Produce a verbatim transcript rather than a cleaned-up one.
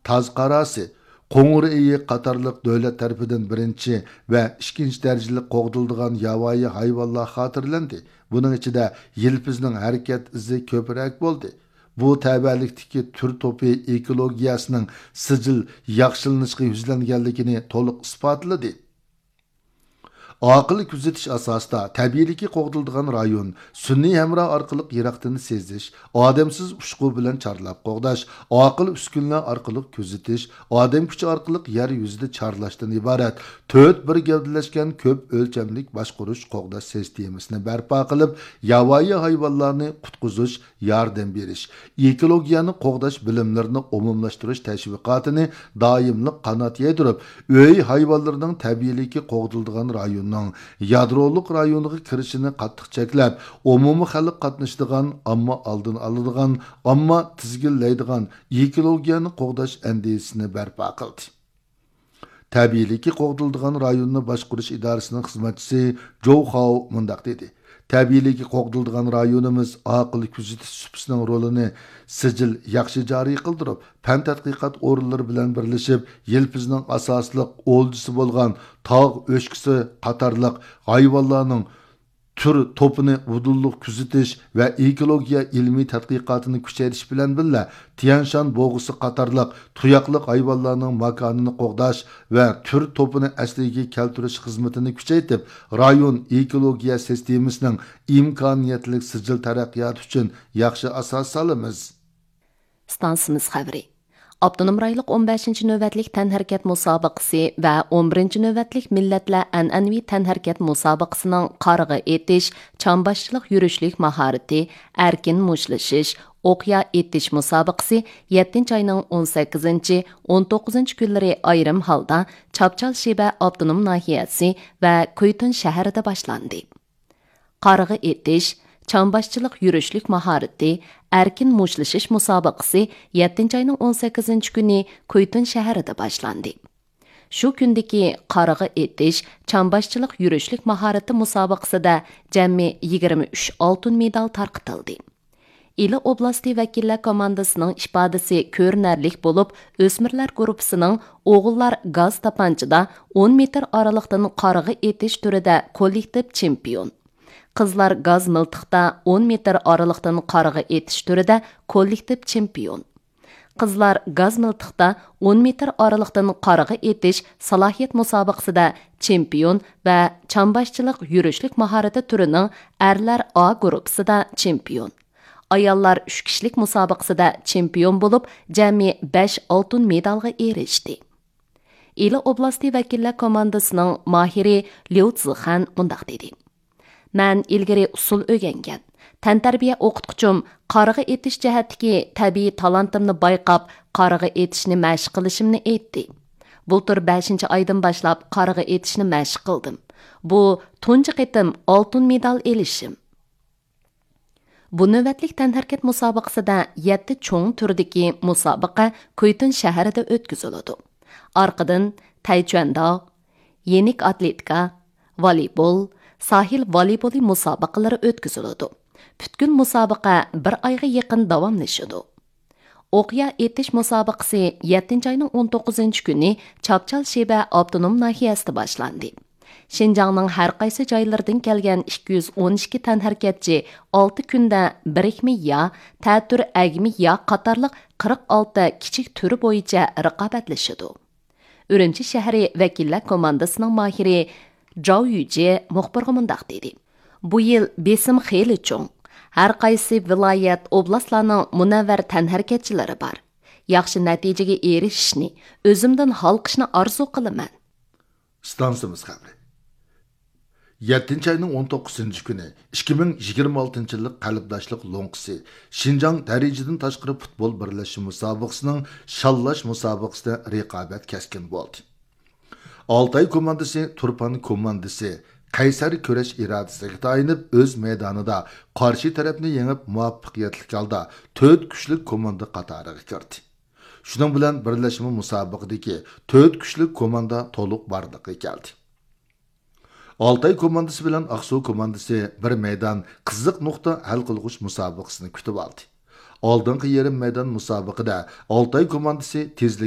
تاز قاراسى، قوڭۇر ئېيىق قاتارلىق دۆلەت تەرىپىدىن بىرىنچى ۋە ئىككىنچى دەرىجىلىك قوغدىلىدىغان ياۋايى ھايۋانلار خاتىرىلەندى. بۇنىڭ ئىچىدە يىلپىزنىڭ ھەرىكەت ئىزى كۆپرەك بولدى. بۇ تەۋەلىكتىكى تۈر توپى ئېكولوگىيەسىنىڭ سىجىل ياخشىلىنىشقا يۈزلەنگەنلىكىنى تولۇق ئىسپاتلىدى. ئاقىل كۆزىتىش ئاساسىدا تەبىئىيلىكى قوغدىلىدىغان رايون سۈنئىي ھەمراھ ئارقىلىق يىراقتىن سېزىش، ئادەمسىز ئۇچقۇ بىلەن چارلاپ قوغداش، ئاقىل ئۈسكۈنىلەر ئارقىلىق كۆزىتىش، ئادەم كۈچى ئارقىلىق يەر يۈزىدە چارلاشتىن ئىبارەت تۆت بىر گەۋدىلەشكەن كۆپ ئۆلچەملىك باشقۇرۇش قوغداش سىستېمىسىنى بەرپا قىلىپ، ياۋايى ھايۋانلارنى قۇتقۇزۇش، ياردەم بېرىش، ئېكولوگىيەنى قوغداش بىلىملىرىنى ئومۇملاشتۇرۇش تەشۋىقاتىنى دائىملىق قانات يايدۇرۇپ، ئۆي ھايۋانلىرىنىڭ تەبىئىيلىكى قوغدىلىدىغان رايوننىڭ يادرولۇق رايونىغا كىرىشىنى قاتتىق چەكلەپ، ئومۇمىي خەلق قاتنىشىدىغان، ئامما ئالدىنى ئالىدىغان، ئامما تىزگىنلەيدىغان ئېكولوگىيەنى قوغداش ئەندىزىسىنى بەرپا قىلدى. تەبىئىيلىكى قوغدىلىدىغان رايوننى باشقۇرۇش ئىدارىسىنىڭ خىزمەتچىسى جوۋ خاۋ مۇنداق دېدى: تەبىئىيلىكى قوغدىلىدىغان رايونىمىز ئاقىل كۆزىتىش سۇپىسىنىڭ رولىنى سىجىل ياخشى جارى قىلدۇرۇپ، پەن تەتقىقات ئورۇنلىرى بىلەن بىرلىشىپ، يىلپىزنىڭ ئاساسلىق ئولجىسى بولغان تاغ ئۆچكىسى قاتارلىق ھايۋانلارنىڭ تۈر توپىنى ئۇدۇللۇق كۆزىتىش ۋە ئېكولوگىيە ئىلمىي تەتقىقاتىنى كۈچەيتىش بىلەن بىللە، تيەنشان بوغۇسى قاتارلىق تۇياقلىق ھايۋانلارنىڭ ماكانىنى قوغداش ۋە تۈر توپىنى ئەسلىگە كەلتۈرۈش خىزمىتىنى كۈچەيتىپ، رايون ئېكولوگىيە سىستېمىسىنىڭ ئىمكانىيەتلىك سىجىل تەرەققىياتى ئۈچۈن ياخشى ئاساس سالىمىز. ئىستانسىمىز خەۋىرى. ئاپتونوم رايونلۇق ئون بەشىنچى نۆۋەتلىك تەنھەرىكەت مۇسابىقىسى ۋە ئون بىرىنچى نۆۋەتلىك مىللەتلەر ئەنئەنىۋى تەنھەرىكەت مۇسابىقىسىنىڭ قارىغا ئېتىش، چامباشچىلىق يۈرۈشلۈك ماھارىتى، ئەركىن مۇشتلىشىش، ئوقيا ئېتىش مۇسابىقىسى يەتتىنچى ئاينىڭ ئون سەككىزىنچى، ئون توققۇزىنچى كۈنلىرى ئايرىم ھالدا چاپچال شىبە ئاپتونوم ناھىيەسى ۋە كۇيتۇن شەھىرىدە باشلاندى. قارىغا ئېتىش، چامباشچىلىق يۈرۈشلۈك ماھارىتى، ئەركىن مۇشتلىشىش مۇسابىقىسى يەتتىنچى ئاينىڭ ئون سەككىزىنچى كۈنى كۇيتۇن شەھىرىدە باشلاندى. شۇ كۈندىكى قارىغا ئېتىش، چامباشچىلىق يۈرۈشلۈك ماھارىتى مۇسابىقىسىدە جەمئىي يىگىرمە ئۈچ ئالتۇن مېدال تارقىتىلدى. ئىلى ئوبلاستى ۋەكىللەر كوماندىسىنىڭ ئىپادىسى كۆرۈنەرلىك بولۇپ، ئۆسمۈرلەر گۇرۇپپىسىنىڭ ئوغۇللار گاز تاپانچىدا ئون مېتىر ئارىلىقتىن قارىغا ئېتىش تۈرىدە كوللېكتىپ چېمپىيون، قىزلار گاز مىلتىقتا ئون مېتىر ئارىلىقتىن قارىغا ئېتىش تۈرىدە كوللېكتىپ چېمپىيون، قىزلار گاز مىلتىقتا ئون مېتىر ئارىلىقتىن قارىغا ئېتىش سالاھىيەت مۇسابىقىسىدە چېمپىيون ۋە چامباشچىلىق يۈرۈشلۈك ماھارىتى تۈرىنىڭ ئەرلەر ئا گۇرۇپپىسىدا چېمپىيون، ئاياللار ئۈچ كىشىلىك مۇسابىقىسىدە چېمپىيون بولۇپ، جەمئىي بەش ئالتۇن مېدالغا ئېرىشتى. ئىلى ئوبلاستى ۋەكىللەر كوماندىسىنىڭ ماھىرى ليۇ زىخەن مۇنداق دېدى: مەن ئىلگىرى ئۇسسۇل ئۆگەنگەن، تەنتەربىيە ئوقۇتقۇچۇم قارىغا ئېتىش جەھەتتىكى تەبىئىي تالانتىمنى بايقاپ، قارىغا ئېتىشنى مەشىق قىلىشىمنى ئېيتتى. بۇلتۇر بەشىنچى ئايدىن باشلاپ قارىغا ئېتىشنى مەشىق قىلدىم. بۇ تۇنجى قېتىم ئالتۇن مېدال ئېلىشىم. بۇ نۆۋەتلىك تەنھەرىكەت مۇسابىقىسىدە يەتتە چوڭ تۈردىكى مۇسابىقە كۇيتۇن شەھىرىدە ئۆتكۈزۈلىدۇ. ئارقىدىن تەيچۈەنداۋ، يېنىك ئاتلېتىكا، ۋالىبول، ساھىل ۋالىبولى مۇسابىقىلىرى ئۆتكۈزۈلىدۇ. پۈتكۈل مۇسابىقە بىر ئايغا يېقىن داۋاملىشىدۇ. ئوقيا ئېتىش مۇسابىقىسى يەتتىنچى ئاينىڭ ئون توققۇزىنچى كۈنى چاپچال شىبە ئاپتونوم ناھىيەسىدە باشلاندى. شىنجاڭنىڭ ھەر قايسى جايلىرىدىن كەلگەن ئىككى يۈز ئون ئىككى تەنھەرىكەتچى ئالتە كۈندە بىرىكمە يا، تەتۈر ئەگمە يا قاتارلىق قىرىق ئالتە كىچىك تۈر بويىچە رىقابەتلىشىدۇ. ئۈرۈمچى شەھىرى ۋەكىللەر كوماندىسىنىڭ ماھىرى جاۋ يۈجې مۇخبىرغا مۇنداق دېدى: بۇ يىل بېسىم خېلى چوڭ. ھەر قايسى ۋىلايەت، ئوبلاستلارنىڭ مۇنەۋۋەر تەنھەرىكەتچىلىرى بار. ياخشى نەتىجىگە ئېرىشىشنى، ئۆزۈمدىن ھالقىشنى ئارزۇ قىلىمەن. ئىستانسىمىز خەۋىرى. يەتتىنچى ئاينىڭ ئون توققۇزىنچى كۈنى ئىككى مىڭ يىگىرمە ئالتىنچى يىللىق قەلبداشلىق لوڭقىسى شىنجاڭ دەرىجىدىن تاشقىرى پۇتبول بىرلەشمە مۇسابىقىسىنىڭ شاللاش مۇسابىقىسىدە رىقابەت كەسكىن بولدى. ئالتاي كوماندىسى تۇرپان كوماندىسى قەيسەر كۈرەش ئىرادىسىگە تايىنىپ، ئۆز مەيدانىدا قارشى تەرەپنى يېڭىپ، مۇۋەپپەقىيەتلىك ھالدا تۆت كۈچلۈك كوماندا قاتارىغا كىردى. شۇنىڭ بىلەن بىرلەشمە مۇسابىقىدىكى تۆت كۈچلۈك كوماندا تولۇق بارلىققا كەلدى. ئالتاي كوماندىسى بىلەن ئاقسۇ كوماندىسى بىر مەيدان قىزىق نۇقتا ھەل قىلغۇچ مۇسابىقىسىنى كۈتۈۋالدى. ئالدىنقى يېرىم مەيدان مۇسابىقىدە ئالتاي كوماندىسى تېزلىك